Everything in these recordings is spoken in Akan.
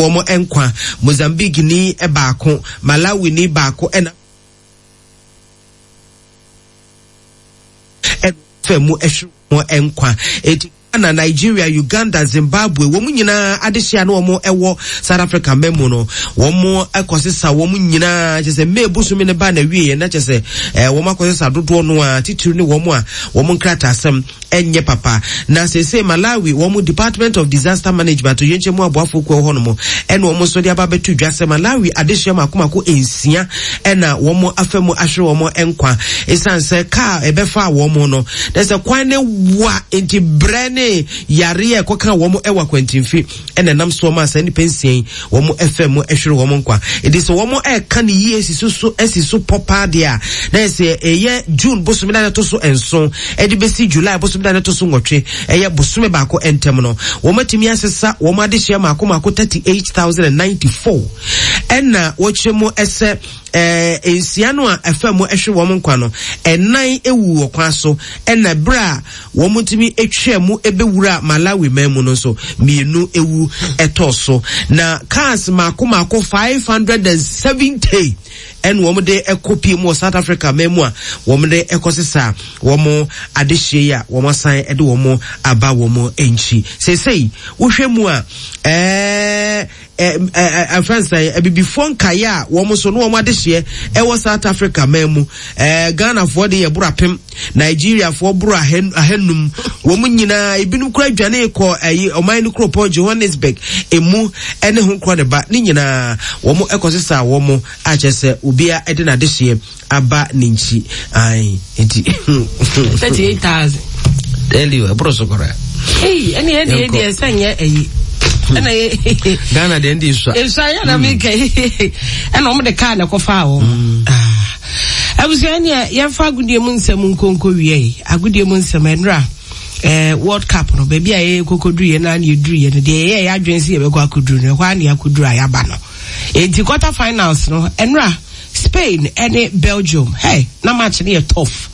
Wɔn nkwa, Mozambique ni baako, Malawi ni baako ɛna fɛ mu ɛhwere wɔn nkwa. Eti Ghana, Nigeria, Uganda, Zimbabwe, wɔn nyinaa adehyɛ a na wɔn ɛwɔ South Africa mma mu no, wɔn ɛkɔsesa wɔn nyinaa kyɛ sɛ May bosome no ba na wie yɛ na kyɛ sɛ ɛɛ wɔn akɔsesa dodoɔ no a titiri ne wɔn a wɔn nkrataasɛm ɛnyɛ papa. Na seesei Malawi wɔn Department of Disaster Management atoyerɛnkyɛm mu aboafoɔ kuo hɔ nom ɛna wɔn nso de aba abɛto dwa sɛ Malawi adehyeɛ mako mako nsia ɛna wɔn afa mu ahwere wɔn nkwa ɛsiane sɛ kaa ɛbɛfaa wɔn no na sɛ kwan ne wa nti brɛ ne yareɛ ɛkɔka wɔn ɛwɔ akwantimfi ɛna ɛnam soɔ maa saa nnipa nsia yi wɔn ɛfɛ mu ɛhwere wɔn nkwa. Enti sɛ wɔn ɛka ne yie si so so ɛsi so pɔ paa deɛ a, na yɛ sɛ ɛyɛ June bosome da ɛto so nson ɛde bɛsi July bosome da ɛto so nwɔtwe ɛyɛ bosome baako ntɛm no, wɔn atumi asesa wɔn adehyeɛ mako mako 38,094 ɛna wɔkyerɛ mu ɛsɛ ɛɛ nsia no a ɛfɛ mu ɛhwere wɔn nkwa no ɛnan ewu wɔ kwan so ɛna berɛ a wɔtumi twaa mu bɛwuraa Malawi man mu no nso, mmienu wu tɔɔ so. Na cars mmaako mmaako 570 ɛna wɔn de kɔ pie mu wɔ South Africa man mu a wɔn de kɔsesa wɔn adehyeɛ yi a wɔn asan de wɔn aba wɔn nkyi. Seesei wohwɛ mu a ɛɛ ɛfɛn sɛ abibifoɔ nkaeɛ a wɔn nso ne wɔn adehyeɛ ɛwɔ South Africa man mu ɛɛ Ghanafoɔ de yɛ boro apem Nigeriafoɔ boro ahanum wɔn nyinaa ebinom kura dwane kɔ ɛyi ɔman no kuropɔn Johannesburg emu ɛne ho korɔ ne ba ne nyinaa wɔn ɛkɔ sesa wɔn akyɛ sɛ obiara ɛde n'adehyeɛ aba ne nkyi ae nti. 38,000. Tell you ɛboro so koraa. Ei ɛne ɛde ɛde ɛsɛ nyɛ ɛyi. Ɛna yɛ. Ghana deɛ ɛnde nsua. Nsua yɛ na mi kɛ ɛna wɔn de kaa na ɛkɔ fa wɔn. Mm. Ah. Abusua neɛ yɛmfa agodie mu nsɛm nkonko wie yi agodie mu nsɛm ɛnura eh, World Cup no baabi a yɛyɛ kɔkɔduru yɛ na ne yɛduru yɛ no deɛ yɛyɛ yɛ adwene sɛ yɛbɛkɔ akɔduru no ɛhɔ a ne yɛakɔduru a yɛaba no enti quarter finals no ɛnura Spain ne Belgium hey na match no yɛ tough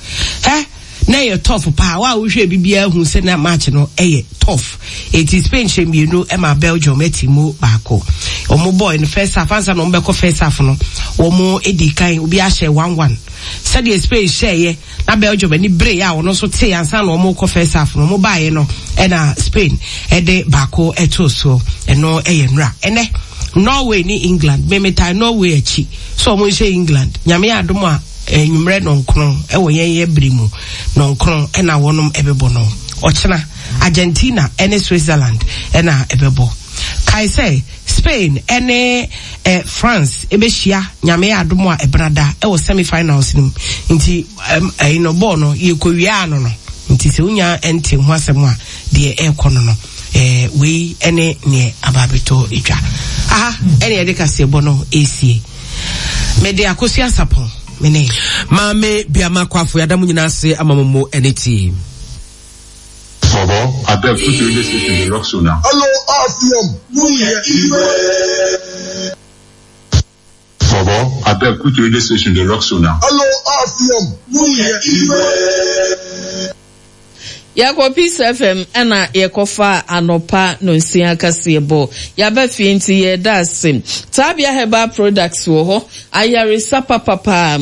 eh na ɛyɛ tough paa wa a wohwɛ bi biara hu sɛ na match no ɛyɛ tough eti Spain hyɛ mmienu ɛma Belgium ɛti mu baako wɔn bɔɔl no first half ansa na wɔn bɛkɔ first half no wɔn edi kan obi ahyɛ 1-1 sɛdeɛ Spain hyɛɛyɛ na Belgium ani beree a wɔn nso tee ansa na wɔn rekɔ first half no wɔn baeɛ no ɛna Spain ɛde baako ɛtoo soɔ ɛno ɛyɛ nnora ɛnɛ Norway ne England memetaa Norway akyi so wɔn nhyɛ England nyame yɛ adom a enyimrɛ nɔnkron ɛwɔ yɛn yɛ bere mu nɔnkron ɛna wɔnom ɛbɛbɔ no ɔkyena Argentina ɛne Switzerland ɛna ɛbɛbɔ kae sɛ Spain ne eh, France ɛbɛhyia Nyame yɛ adom a ɛbenada ɛwɔ semi finals no mu nti ɛyi no bɔɔl no yɛkɔ ano no nti sɛ wonya ɛnte ho asɛm a deɛ ɛrekɔ no no eh, wei ɛne neɛ aba abɛtɔ dwa aha ɛne yɛde kaseɛbɔ no ɛsie mede Akosua Sapɔn mene Maame Biama Kwafo yɛada mo nyinaa ase ama mo mo ɛne tie. Bobo, abeg put radio station dey rock so now. Hello RCM, mo yɛ Igwe. Bobo, abeg put radio station dey rock so now. Hello RCM, mo yɛ Igwe. Yɛkɔ Peace FM ɛna yɛkɔfa anɔpa nonsia kaseɛbɔ. Yɛaba fie nti yɛda ase. Taabea Herbal Products wɔ hɔ. Ayaresa papapaa,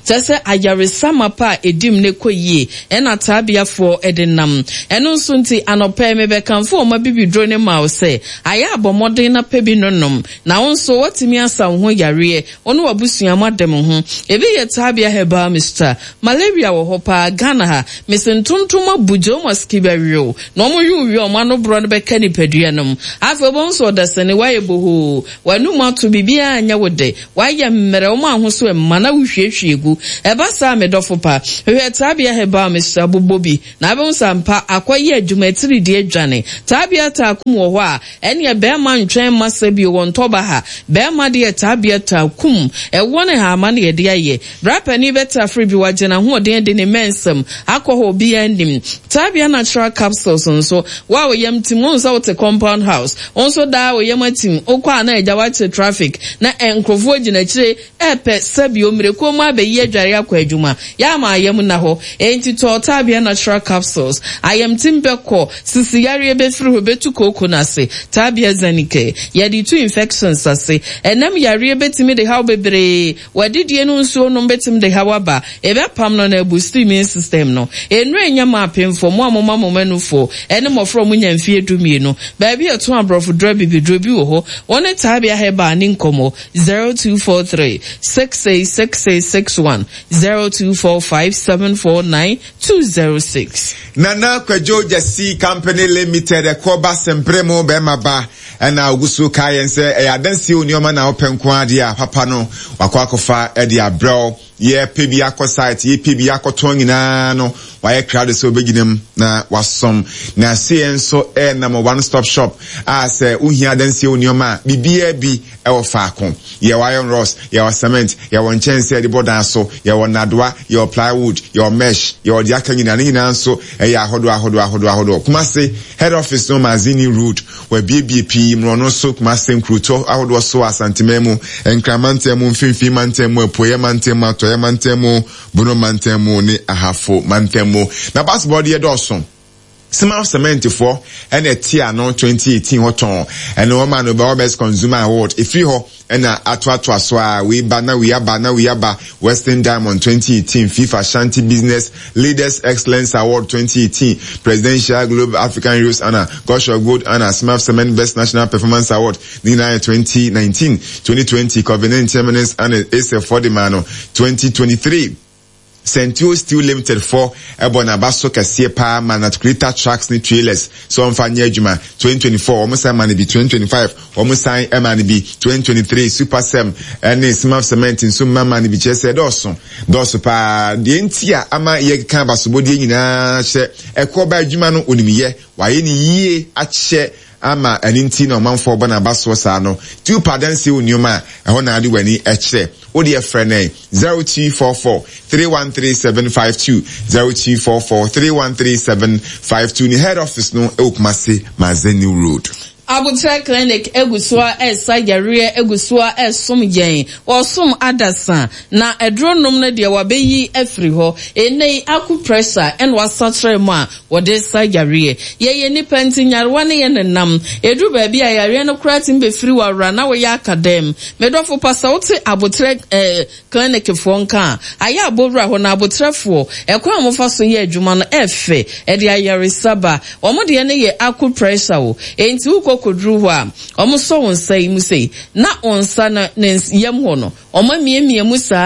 kyerɛ sɛ ayaresa mapa a ɛdi mu na ɛkɔ yie na taabeafoɔ de nam. Ɛno nso nti, anɔpa yi mebɛkamfo wɔn abibiduro no ma wo sɛ, ayɛ a bɔ mmɔden na pɛ bi nonom, na wo nso woatumi asa wo ho yareɛ, wo ne w'abusua moada mo ho. Ebi yɛ Taabea Herbal Mixture. Malaria wɔ hɔ paa Ghana ha. Mese ntontom abu Jomoski bɛwe wo, na wɔwe wo wie a wɔn ano borɔ no bɛka nipadua no mu. Afei wobɛhu sɛ ɔdasani, woayɛ bohoo. W'anom ato, biribiara nyɛ wo dɛ, w'ayɛ mmerɛ, woma wo ho so mma na wohwiehwie gu. Ɛba saa a, me dɔfo pa, hwehwɛ Taabea Herbal Mixture bobɔ bi, na wobɛhu sɛ ampa akɔyɛ adwuma, atiridii adwane. Taabea Taakum wɔ hɔ a, ɛneɛ barima ntwɛn mma sɛ bio wɔ ntɔba ha. Barima deɛ Taabea Taakum, ɛwoɔ ne haama na yɛde ayɛ. Bra panin bɛtafere bi, wagye n'ahoɔden adi ne mmɛnsɛm akɔ hɔ, obiara nnim. Taabea. Taabea Natural Capsules nso, wo a wo yam tim, wohu sɛ wote compound house, wo nso daa wo yam atim, wokɔ a na agya woakyere traffic, na nkurɔfoɔ gyina akyire ɛrepɛ sɛbio mmirekuo mu abɛyi adware akɔ adwuma, yɛ ama ayam nna hɔ. Enti tɔ Taabea Natural Capsules. Ayamtim bɛkɔ, sisi yareɛ bɛfiri hɔ, ɛbɛtu kooko no ase. Taabea Zanicare, yɛde tu infections ase. Ɛnam yareɛ bɛtumi de haw bebree W'adidie no nsuo nom bɛtumi de haw aba, ɛbɛpam no na abusti immune system no. Nnuro a ɛnya ma apemfoɔ, mo a moma mo mma nufoɔ, ɛne mmɔfra a wɔnya mfeɛ dumienu. Baabi a ɛtɔn aborɔfoduro abibiduro bi wɔ hɔ. Wo ne Taabea Herbal nni nkɔmmɔ, 0243 666661, 0245 749 206. Nana Kwadwo Gyasi Company Limited ɛkɔ ba sempere mo bɛrima ba. Ɛna ogu so kae yɛn sɛ ɛyɛ adansie o nneɛma na wopɛ nko ara deɛ a papa no wakɔ akɔfa de abrɛ wo. Yɛpɛ bi akɔ site, yɛpɛ bi akɔtɔn nyinaa no wayɛ krado sɛ obɛgyina mu na wasom. Na aseɛ nso ɛnam one stop shop a sɛ wohia adansie o nneɛma a biribiara bi ɛwɔ faako. Yɛwɔ iron rods, yɛwɔ cement, yɛwɔ nkyɛnsee a yɛde bɔ dan so, yɛwɔ nnadewa, yɛwɔ plywood, yɛwɔ mesh, yɛwɔ deɛ aka nyinaa. Ne nyinaa nso ɛyɛ ahodoɔ ahodoɔ ahodoɔ ahodoɔ. Kumasi head office no Mazini Road. Wɔabuebue pii mmorɔno so, Kumase nkurotoɔ ahodoɔ so, Asanteman mu, Nkran mantam mu, Mfimfini mantam mu, Apueeɛ mantam mu, Atɔeɛ mantam mu, Bono mantam mu ne Ahafo mantam mu. Na basketball deɛ dɔɔso. Simaf Cement foɔ ɛna ɛte ano 2018 hɔ tɔn. Ɛno wɔma no Bɛwɔ Best Consumer Award. Ɛfiri hɔ ɛna atoatoa so a wei ba na wei aba na wei aba. Western Diamond 2018, FIFA Ashanti Business Leaders Excellence Award 2018, Presidential Globe African Heroes Honour, Gosho Gold Honour, Smaf Cement Best National Performance Award ne nyinaa yɛ 2019, 2020, Covid-19 Eminence Honour ASEF foɔ de maa no 2023. Sentio Steel Limited foɔ bɔ n'aba so kɛseɛ paa ma Natcrater Trucks ne Trailers sɛ ɔmfa nyɛ adwuma, 2024 wɔn san ma no bi, 2025 wɔn san ma no bi, 2023 Supercem ne Smaf Cement nso mma ma no bi, kyerɛ sɛ ɛdɔɔso, dɔɔso paa. Deɛ nti a ama yɛkeka abasobɔdeɛ nyinaa hyɛ ɛkoɔ ba adwuma no onim yɛ, wayɛ no yie akyɛ ama ɛno nti na ɔmanfoɔ bɔ n'abasoɔ saa no. Ti wopɛ adanseɛ wɔ nneɛma a, ɛhɔ na wode w'ani kyerɛ. Wo deɛ frɛ no ɛ, 0244 313 752, 0244 313 752. Ne head office no wɔ Kumasi, Mazeni Road. Aboterɛ Clinic gu so ara resa yareɛ gu so ara resom yɛn. Wɔsom adasa, na aduro nom no deɛ wɔabɛyi afiri hɔ. Ɛnnɛ yi acupressure na wɔasakyera mu a wɔde sa yareɛ. Yɛyɛ nnipa nti nyarewa ne yɛn nenam. Ɛduru baabi a yareɛ no koraa tumi bɛfiri wo awora na woyɛ aka dɛm. Me dɔfo pa sɛ wote aboterɛ eh, clinic foɔ nka a, ayɛ a bɔ wura hɔ na aboterɛfoɔ, ɛkwan a wɔfa so yɛ adwuma no ɛfɛ, ɛde ayaresa ba. Wɔn deɛ no yɛ acupressure o, enti wokɔ kɔduru hɔ a, wɔsɔ wo nsa yi mu sei, na wo nsa no ne yam hɔ no, Wɔamiamia mu saa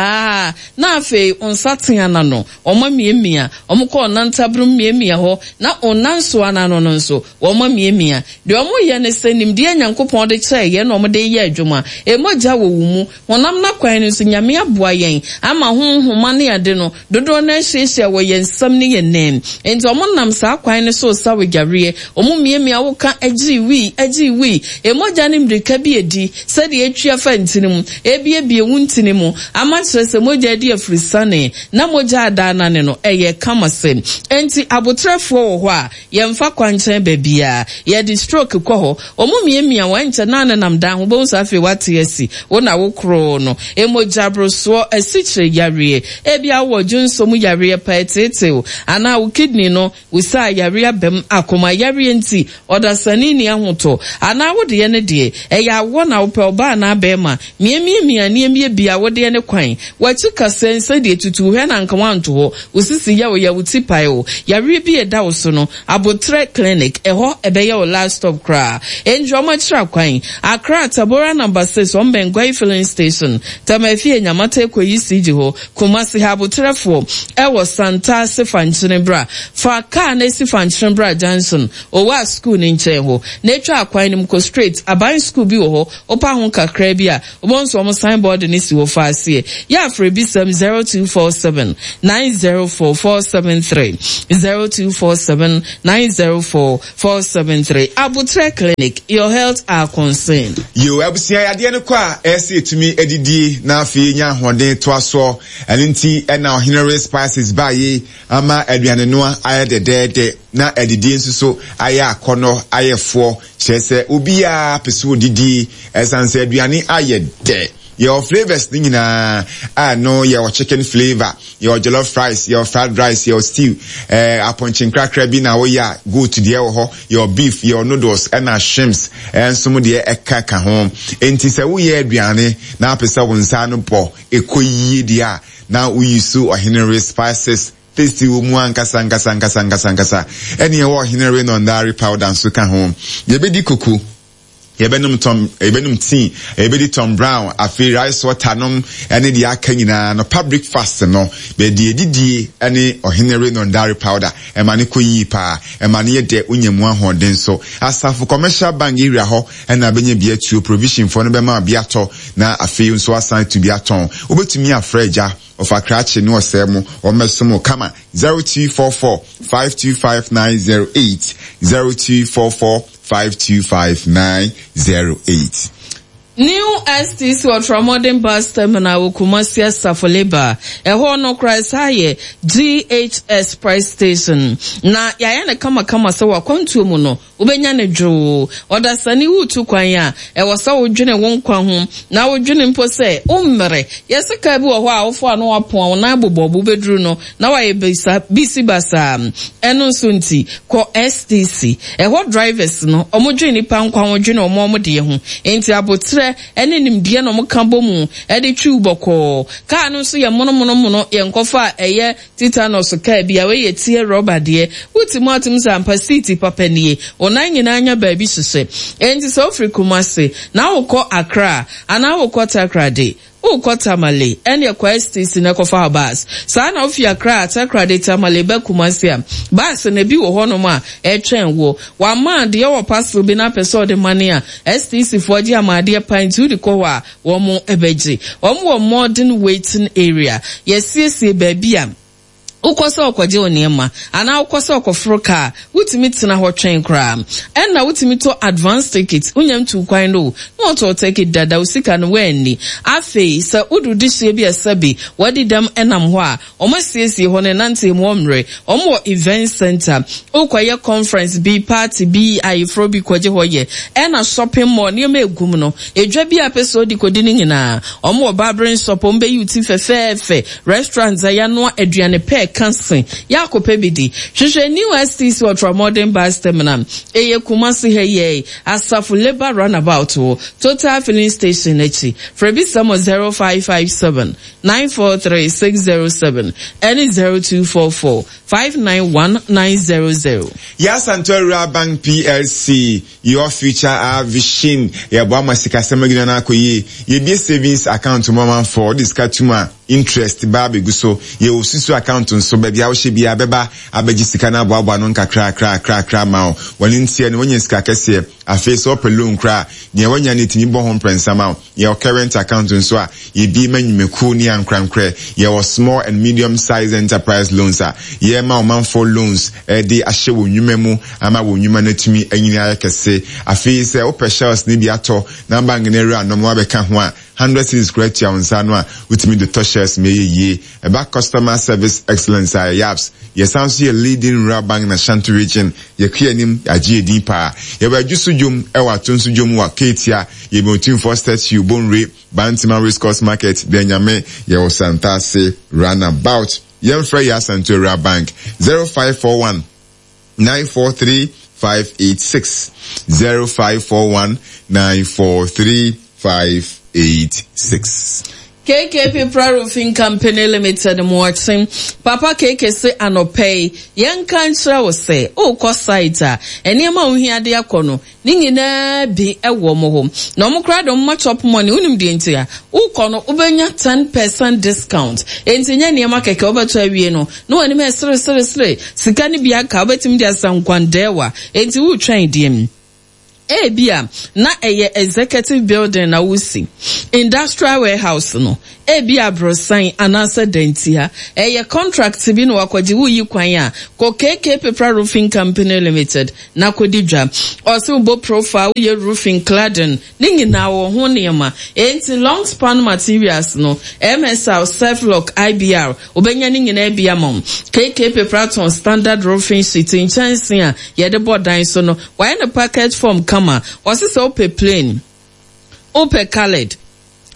ara, na afei wo nsateaa no ano, wɔamiamia. Wɔkɔ wo nantabrom miamia hɔ, na wo nansoa no ano no nso, wɔamiamia. Deɛ wɔyɛ ne sɛ, nimdeɛ a Nyankopɔn de kyɛɛ yɛn na wɔde reyɛ adwuma. Mogya wɔ wo mu. Honam no akwan no nso, Nyame aboa yɛn ama ho nhoma ne ade no, Dodoɔ no ara hyiahyia wɔ yɛn nsam ne yɛn nan. Enti wɔnam saa kwan no so resa wo yareɛ. Wɔmiamia wo ka gyee wii, gyee wii. Mogya no mmirika bi redi sɛdeɛ ɛtwi afa ntini mu, ɛrebuebue wo ntini mu ama kyerɛ sɛ mogya adi afirisane na mogya adaanane no, ɛyɛ kama sɛ. Enti aboterɛfoɔ wɔ hɔ a, Yɛmfa kwankyɛn baabiara. Yɛde stroke kɔ hɔ. Wɔn miamia wo, ɛnkyɛ na anenam dan ho. Wobɛhu sɛ afei woate asi. Wo na wo koroo no. Mogyaborosoɔ, asikyire yareɛ. Ebia wowɔ dwonsɔ mu yareɛ paa, ɛteetee wo. Anaa wo kidney no, wo saa yareɛ aba mu. Akoma yareɛ nti, ɔdasani nni ahotɔ. Anaa wo deɛ no deɛ, ɛyɛ awoɔ na wopɛ, ɔbaa anaa barima. Miamiamia nneɛma bi a wodeɛ ne kwan. W'akyi kasɛɛ nsɛ deɛ tutu hwɛ na anka woanto hɔ. Wo sisi yɛ wo ya, wo ti pae wo. Yareɛ bi a ɛda wo so no, Aboterɛ Clinic, ɛhɔ ɛbɛyɛ wo last stop koraa. Enti wɔn akyiri akwan, Accra, Tabora number 6, wɔn bɛn Gwayi filling station, Tema Afie, Nyamata Ekoyi CG hɔ, Kumasi ha Aboterɛfoɔ ɛwɔ Santase Fankyene bra. Fa car no si Fankyene bra junction, Owaa school no nkyɛn hɔ, na atwa akwan no mu kɔ straight, aban school bi wɔ hɔ, Wopa ho kakraa bi a, wobɛhu sɛ wɔn sign board no no si hɔ fa aseɛ. Yɛ afrɛ bisam 0247 904 473, 0247 904 473. Aboterɛ Clinic, your health our concern. Yiw, abusua yadeɛ no kɔ a, ɛyɛ sɛ yɛtumi adidie na afei yɛnya ahoɔden toa soɔ. Ɛno nti na Ɔhene Ray Spices baeɛ yi ama aduanenoa ayɛ dɛdɛɛdɛ na adidie nso so ayɛ akɔnnɔ, ayɛ foɔ. Kyerɛ sɛ obiara pɛ sɛ ɔdidie ɛsiane sɛ aduane ayɛ dɛ. Yɛwɔ flavours no nyinaa a ɛno yɛwɔ chicken flavour, yɛwɔ jollof rice, yɛwɔ fried rice, yɛwɔ stew, eh, apɔnkye nkrakra bi na woyɛ a goat deɛ wɔ hɔ, yɛwɔ beef, yɛwɔ noodles ɛna shrimps ɛnso mo deɛ ɛka ka ho. Enti sɛ woyɛ aduane na apɛ sɛ wo nsa ano bɔ ɛkɔ yie deɛ a na woyi so Ɔhene Re spices tasty wɔ mu ankasa ankasa ankasa ankasa ankasa. Ɛne ɛwɔ Ɔhene Re Nɔndare powder nso ka ho. Yɛbɛdi koko. Yɛbɛnom Tom, yɛbɛnom tea, yɛbɛdi Tom Brown, afei rice water nom ne deɛ aka nyinaa. Anɔpa breakfast no, bɛde adidie ne Ɔhene Renon Dairy Powder. Ɛma no kɔ yie paa. Ɛma no yɛ dɛ, wonya mu ahoɔden nso. Asafo Commercial Bank area hɔ na bɛnya bi atuo. Provision foɔ no bɛma wo bi atɔ na afei nso woasan atu bi atɔn. Wobɛtumi afrɛ agya, ɔfa krakye ne ɔsɛe mo, wɔmmɛsom wo kama. 0244 525 908, 0244 525908. New STC Ɔtramɔden Bus Terminal wɔ Kumasi Asafo Labour. Ɛhɔ no koraa ɛsan yɛ GHS Price Station. Na yɛayɛ no kamakama sɛ w'akwantuo mu no wobɛnya no dwoo. Ɔdasani woretu kwan a, ɛwɔ sɛ wodwene wo nkwa ho na wodwene mpo sɛ wommrɛ. Yɛse kaa bi wɔ hɔ a wofo a na woapoa wo nan bobɔ bo bɛduru no na wayɛ bisa bisi basaa. Ɛno nso nti, kɔ STC. Ɛhɔ drivers no, wɔn dwene nipa nkwa ho, dwene wɔn wɔn deɛ ho. Enti aboterɛ ne nimdeɛ na wɔn ka bɔ mu de twi wo bɔkɔɔ. Kaa no nso yɛ mono mono mono, yɛ nkɔfa a ɛyɛ tetanus kaa bi a, wei yɛ tear rubber deɛ. Wote mu a wotumi sɛ ampa seat papa nie. Wo nan nyinaa nya baabi hyehyɛ. Enti sɛ wofiri Kumasi na wokɔ Accra anaa wokɔ Takoradi, Worekɔ Tamale, ɛnneɛ kɔ STC na kɔfa wo bus. Saa na wofi Accra, Takoradi, Tamale ba Kumasi a, bus no ebi wɔ hɔnom a ɛretwɛn wo. Wama deɛ ɔwɔ parcel bi na apɛ sɛ ɔde mane a, STC foɔ gye ama adeɛ pa nti wode kɔ hɔ a, wɔbɛgye. Wɔwɔ modern waiting area. Yɛasiesie baabi a. Wokɔ sɛ ɔkɔgye wo nneɛma anaa wokɔ sɛ ɔkɔforo kaa a, wotumi tena hɔ twɛn koraa. Ɛnna wotumi tɔ advance ticket, wonya ntuu kwan no o, na wɔtɔ wo ticket dada, wo sika no woanni. Afei sɛ wodu dehyeɛ bi a sɛbe wɔadi dɛm nam hɔ a, wɔasiesie hɔ no, nnanteɛ mu wɔmmrɛ. Wɔwɔ event centre, wokɔyɛ conference bi, party bi, ayeforɔ bi kɔgye hɔ yɛ. Ɛnna shopping mall, nneɛma ɛgu mu no, edwa bi a wopɛ sɛ wodi kɔdi no nyinaa, wɔwɔ barbering shop, wɔbɛyi wo ti fɛfɛɛfɛ. Restaurant a yɛanoa aduane pɛ ka se yɛakɔpɛ bi di. Hwehwɛ New STC Ultramodern Bus Terminal. Ɛyɛ Kumasi ha yi ara, Asafo Labour Runabout wɔ Total Filling Station akyi. Frɛ bisa mo 0557 943 607 ɛne 0244 591 900. Yɛ Asantewaa Rural Bank PLC. Your Future Our Vision, Yɛboa ma sikasɛm agyina no akɔ yie. Yɛbue savings account ma ɔmanfoɔ, wode sika tom a, interest ba abɛgu so. Yɛwɔ susu account nso, baabi a wohyɛ biara bɛba abɛgye sika no aboaboa ano nkakrakrakrakra ama wo. Wɔn nteɛ no, woanya sika kɛseɛ. Afei sɛ wopɛ loan koraa a, nea woanya no yɛtumi bɔ ho mprɛnsa ma wo. Yɛwɔ current account nso a yɛbue ma nnwumakuo ne ankorankorɛ. Yɛwɔ small and medium size enterprise loans a yɛma ɔmanfoɔ loans de ahyɛ wɔn nnwuma mu ama wɔn nnwuma no atumi anyini ayɛ kɛse. Afei sɛ wopɛ shells no bi atɔ na bank no awuranom abɛka ho a, hundred cedis koraa tua wo nsa ano a wotumi de tɔ shells ma ɛyɛ yie. Ɛba customer service excellence a, yɛyɛ apps. Yɛsan nso yɛ leading rural bank in Ashanti region. Yɛkɔ yɛn anim, yɛagye yɛn din paa. Yɛwɔ Adwo so dwom wɔ Atonso dwom wɔ Ketia, yɛbɛn Otumfoɔ statue, Bonwire, Bantama Race Course Market, Danyame, yɛwɔ Santase Runabout. Yɛmfrɛ yɛn Asante Rural Bank 0541 943 586, 0541 943 586. KKP Pra Roofing Company Limited Moakye Papa KK se anɔpa yi yɛnka nkyerɛ wo sɛ wokɔ site a nneɛma a wohia de akɔ no ne nyinaa bi wɔ wɔn hɔ na wɔn koraa de wɔn ma chop money wonim deɛ nti a wokɔ no wobɛnya 10 percent discount enti nyɛ nneɛma kɛkɛ wobɛtɔ awie no na w'anim ɛsere sere sere sika no bi aka wobɛtumi de asa nkwandɛɛwa enti wotwɛn deɛ Ebia na ɛyɛ executive building na woresi. Industrial warehouse no, ebia aborosan anaasɛ dantia. Ɛyɛ contract bi na wakɔgye, woreyi kwan a, kɔ KK Pepra Roofing Company Limited na kɔdi dwa. Ɔse wobɔ profile, woyɛ roofing, cladding, ne nyinaa wɔ ho nneɛma. Enti long span materials no, MSR, Surflock, IBR, wobɛnya ne nyinaa bi ama wo. KK Pepra tɔn standard roofing sheet, nkyɛnsee a yɛde bɔ dan so no, wayɛ no packet form kama. Ɔse sɛ wopɛ plain, Wopɛ coloured,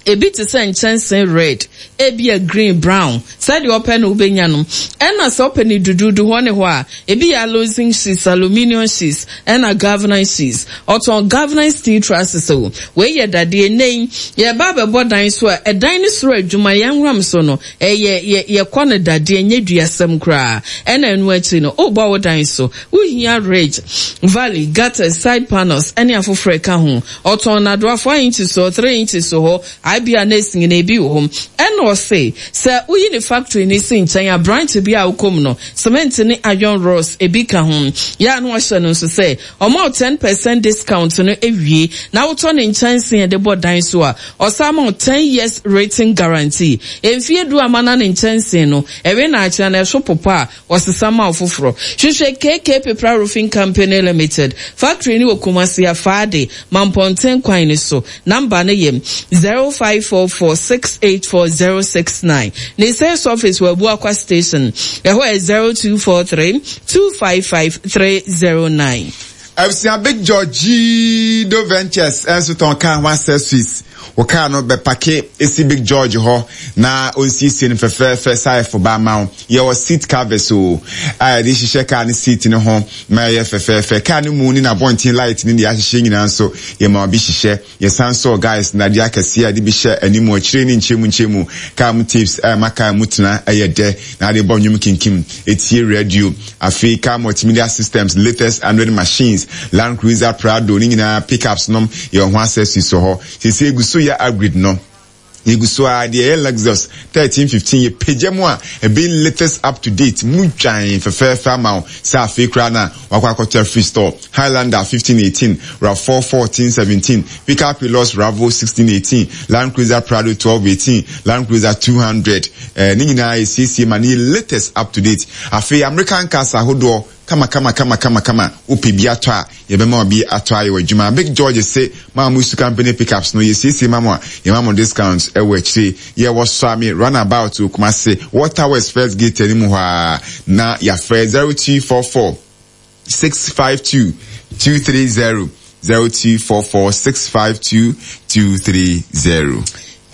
ebi te sɛ nkyɛnse red, ebia green, brown, sɛdeɛ wopɛ no wobɛnya no. Ɛna sɛ wopɛ no duduudu hɔ ne hɔ a, ebi yɛ alozing sheets, aluminium sheets, ɛna galvanized sheets. Ɔtɔn galvanized steel trusses o. Wei yɛ dadeɛ. Nnɛ yi, yɛreba abɛbɔ dan so a, ɛdan no soro adwuma, yɛn nwuram so no, ɛyɛ, yɛ, yɛkɔ no dadeɛ, ɛnyɛ duasɛm koraa. Ɛna ɛno akyi no, wobɔ wo dan so, wohia ridge, valley, gutters, side panels, ɛne afoforɔ ɛka ho. Ɔtɔn nnadewa 4 inches hɔ, 3 inches hɔ, IBA na esi nyinaa ebi wɔ hɔ. Ɛna ɔse sɛ woyi ne factory no si nkyɛn a branch bi a wokɔ mu no, cement ne iron rods ebi ka ho. Yɛ a na wahyɛ no nso sɛ ɔma wo 10 percent discount no wie na wotɔ ne nkyɛnsee a yɛde bɔ dan so a, ɔsan ma wo 10 years written guarantee. Mfie du ama na ne nkyɛnsee no, ɛwe na akyena na ɛso popa a, Wɔsesa ma wo foforɔ. Hwehwɛ KK Pepra Roofing Company Limited. Factory no wɔ Kumasi Afaade, Mampɔnten kwan no so. Number no yɛ 0544684069. Ne sales office wɔ Abuakwa Station. Ɛhɔ yɛ 0243255309. Abusua Big George Do Ventures nso tɔn kaa ho accessories. Wo kaa no bɛpake si Big George hɔ na onsiesie no fɛfɛɛfɛ saefo ba ama wo. Yɛwɔ seat covers o a yɛde hyehyɛ kaa no seat no ho ma ɛyɛ fɛfɛɛfɛ. Kaa no mu ne n'abɔnten light ne deɛ ahyehyɛ nyinaa nso yɛma obi hyehyɛ. Yɛsan sɔɔ guys nnadeɛ akɛseɛ a yɛde bi hyɛ anim, akyire ne nkyɛmu nkyɛmu. Kaa mu tapes a ɛma kaa mu tena yɛ dɛ na ade bɔ nnwom kinkim, tie radio. Afei car multimedia systems, latest Android machines, Land Cruiser, Prado ne nyinaa pickups nom yɛwɔ ho accessories wɔ hɔ. Seesei yɛgu so yɛ upgrade no. Yɛgu so ara, deɛ ɛyɛ Lexus 13, 15 yɛpagya mu a ɛbɛyɛ latest up to date mu dwan fɛfɛɛfɛ ama wo sɛ afei koraa no a wakɔ akɔtɔ afiri store. Highlander 15, 18, RAV4 14, 17, Pickup Hilux Ravo 16, 18, Land Cruiser Prado 12, 18, Land Cruiser 200 eh, ne nyinaa yɛsiesie ma no yɛ latest up to date. Afei American cars ahodoɔ kama kama kama kama kama wopɛ bi atɔ a yɛbɛma obi atɔ ayɛ w'adwuma. Big George se mo a mo su company pickups no yɛsiesie ma mo a yɛma mo discount wɔ akyire. Yɛwɔ Suame runabout wɔ Kumasi, Water Works first gate anim hɔ ara na yɛafrɛ 0244 652 230 0244 652 230.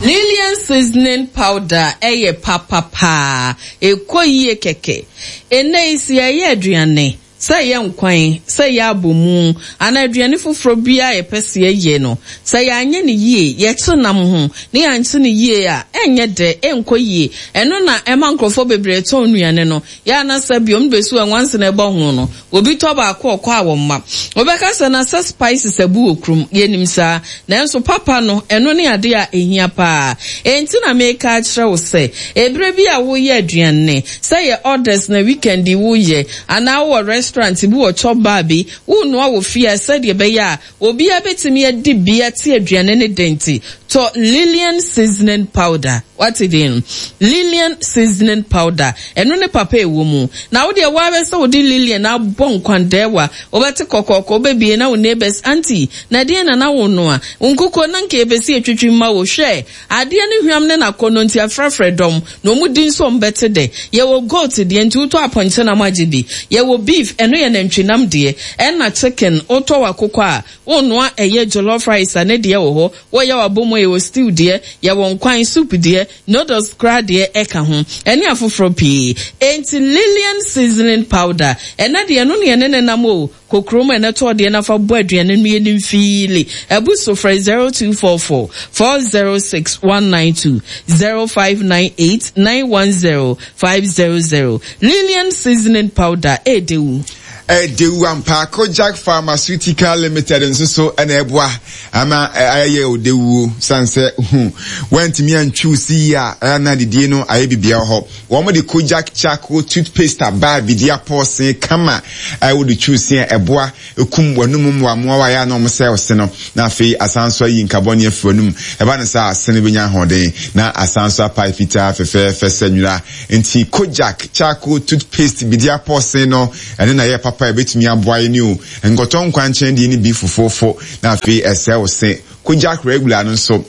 Lilian seasoning powder yɛ papa paa, ɛkɔ yie kɛkɛ. Ɛnnɛ yi sɛ yɛreyɛ aduane, sɛ ɛyɛ nkwan, sɛ ɛyɛ abomu, anaa aduane foforɔ biara a yɛpɛ sɛ yɛyɛ no, sɛ yɛanyɛ no yie, yɛkye nam ho na yɛankye no yie a, ɛnyɛ dɛ, ɛnkɔ yie. Ɛno na ɛma nkurɔfoɔ bebree tɔn nnuane no. Yɛ a na sɛ biom bɛsi wɔ nwansena ɛbɔ ho no, obi tɔ baako ɔkɔ a wɔmma. Wobɛka sɛ na sɛ spices abu wɔ kurom, yɛnim saa. Nanso papa no, ɛno ne adeɛ a ɛhia paa. Enti na meka akyerɛ wo sɛ, ɛberɛ bi a woreyɛ aduane, sɛ ɛyɛ orders na weekend yi woreyɛ, anaa wowɔ restaurant bi wɔ chop bar bi, worenoa wɔ fie a, sɛdeɛ ɛbɛyɛ a Obiara bɛtumi adi bi ate aduane no dɛ nti, tɔ Lilian Seasoning Powder. Woate din no? Lilian Seasoning Powder. Ɛno ne papa a ɛwɔ mu. Na wo deɛ, wo ara sɛ wode Lilian abɔ nkwandɛɛwa, wobɛte kɔkɔɔkɔ, wobɛbie na wo neighbors, Auntie, na ɛdeɛn na na wonoa? Wo nkukuo na anka yɛpɛ sɛ yɛtwitwi mma wo. Hwɛ! Adeɛ no hwam ne n'akɔnnɔ nti afrɛfrɛ dɔm na wɔn di nso wɔn bɛte dɛ. Yɛwɔ goat deɛ nti wotɔ apɔnkye nam agye bi. Yɛwɔ beef ɛno yɛ nantwi nam deɛ. Ɛna chicken wotɔ w'akokɔ a wonoa ɛyɛ jollof rice a ne deɛ wɔ hɔ. Woyɛ w'abomu a yɛwɔ stew deɛ, yɛwɔ nkwan, soup deɛ, noodles koraa deɛ ɛka ho. Ɛne afoforɔ pii. Enti Lilian seasoning powder ɛnɛ deɛ ɛno na yɛne no nam o. Kɔ kurom ɛnɛ tɔ deɛ na fa bɔ aduane no yɛ no mfiili. Abu so frɛ 0244 406 192, 0598 910 500. Lilian seasoning powder ɛɛdɛ wu. Ɛdewu ampa. Kojak Pharmaceutical Limited nso so na ɛboa ama ayɛ odewuo sane sɛ hu wantumi antwiw si yie a ɛyɛ na adidie no ayɛ bibia wɔ hɔ. Wɔn de Kojak Charcoal Toothpaste aba bidi apɔɔse kama a wode twiw se a ɛboa kum w'anum mmoammoawa a ɛyɛ a na wɔsɛe wo se no na afei asan nso ayi nkabɔne afi w'anum. Ɛba no saa a se no bɛnya ahoɔden na asan nso apae fitaa fɛfɛɛfɛ sɛ nwera. Enti Kojak charcoal toothpaste bidi apɔɔse no, ɛno na ɛyɛ papa a ɛbɛtumi aboa yɛn o. Nkɔtɔ nkwankyɛn deɛ no bi fofoofo na afei ɛsɛe wo se. Kojak regular no nso,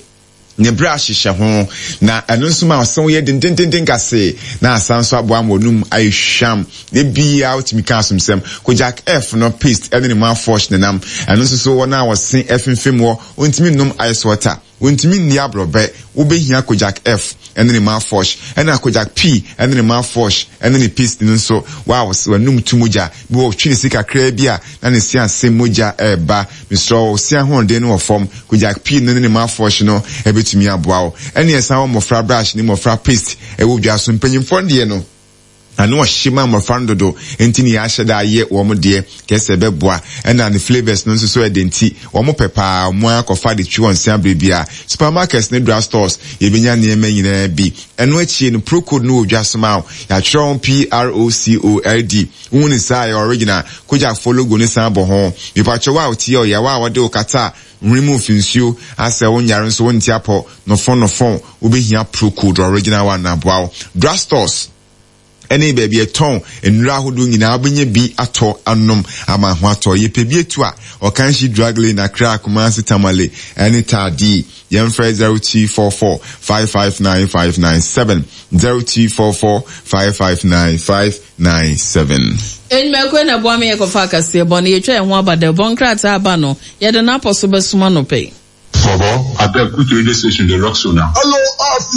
ne brush hyehyɛ ho, na ɛno nso ma ɔse wo yɛ dendendenden kase na asan nso aboa ma w'anum ayɛ hwam. Da biara wotumi ka asomsɛm. Kojak F no paste ɛne ne mouthwash nenam. Ɛno nso so wɔn a wɔse ɛfemfem wɔ, wɔntumi nnom ice water. Wontumi nni aborɔbɛ, wobehia Kojak F ne ne mouthwash, ɛna Kojak P ne ne mouthwash ne ne paste no nso. Wow, sɛ w'anum tu mogya bi wɔ twe ne se kakraa bi a na ne se ase mogya reba. Mesrɛ wo, se ahoɔden no wɔ fam, Kojak P no ne ne mouthwash no betumi aboa wo. Ɛne ɛsan wɔ mmɔfra brush ne mmɔfra paste wɔ dwa so. Mpanyimfoɔ deɛ no. Ano ɔhye ma mmɔfra no dodo nti ne yɛahyɛ da ayɛ wɔn deɛ kɛsɛ sɛ ɛbɛboa ɛna ne flavours no nso so ɛdɛ nti wɔn pɛ paa wɔn ara kɔfa de twe wɔn se aberɛ biara. Supermarkets ne drug stores yɛbɛnya nneɛma nyinaa bi. Ɛno akyie no Procode no wɔ dwa so ma wo. Yɛatwerɛ ho PROCOLD. Wohu no saa a ɛyɛ original. Kojak foɔ logo no san bɔ ho. Mepakyɛ wo a wotie ɔyaw a wɔde wo kata hwene mu fi nsuo asɛ wo nyare nso wonte apɔ nofon nofon wobɛhia Procode original one na aboa wo. Drug stores ne baabi ɛtɔn nnuro ahodoɔ nyinaa wobɛnya bi atɔ anom ama ho atɔ. Yɛpɛ bi atu a, Ɔkanhyi Drug Lane, Accra, Kumasi, Tamale ne Taadi. Yɛmfrɛ 0244 559 597, 0244 559 597. Enyimɛkue na ɛboa me yɛkɔfa akaseɛ bɔ no, yɛtwa yɛn ho aba dɛ bɔ nkrataa aba no, yɛde n'apɔ so bɛsom anɔpa yi. Bobo, abeg put radio station dey rock so now. Hello, Afi.